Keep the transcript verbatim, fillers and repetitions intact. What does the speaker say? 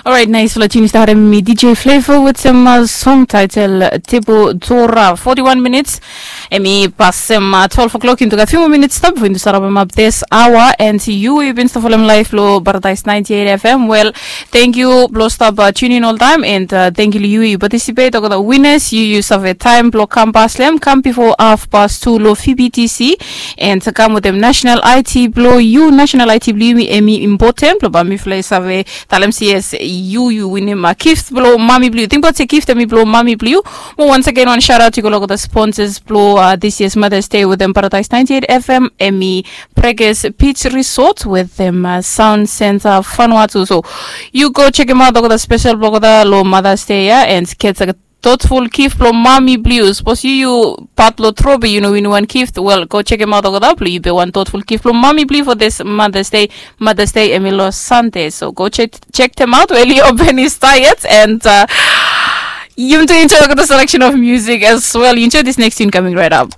Orait, nais long tinis daret em i DJ Flavor wetem song title Tebo Tora. Forty-one minutes em i pasem twelve o'clock. Into gat few more minutes stap before into start up up this hour. And you, you been stop follow live lo Paradise ninety-eight F M. Well, thank you blo stop uh, tune in all time, and uh, thank you you, you participate. Oga the winners, you you save time blo come past them, come before half past two lo P B T C, and come with them national I T blo you, national I T blo you, emi important blo ba mi fly save Talem si yes, yu yu winim uh, gift blo mami blo yu. Tingbaot se gift emi blo mami blo yu. Mo once again wan shout out yu go look at the sponsors blo uh, this year's Mother's Day with them Paradise ninety-eight F M, emi Preges Beach Resort with them uh, Sound Center Vanuatu. So you go check him out look at the special blog the lo Mother's Day, yeah, and get a thoughtful gift blo mami blo yu. Suppose you you part blo trobe you know win one gift. Well, go check him out over there blo you be one thoughtful gift blo mami blo you for this Mother's Day. Mother's Day emi lo Sunday. So go check check them out. Well, you open his diet and uh, you to enjoy the selection of music as well. You enjoy this next tune coming right up.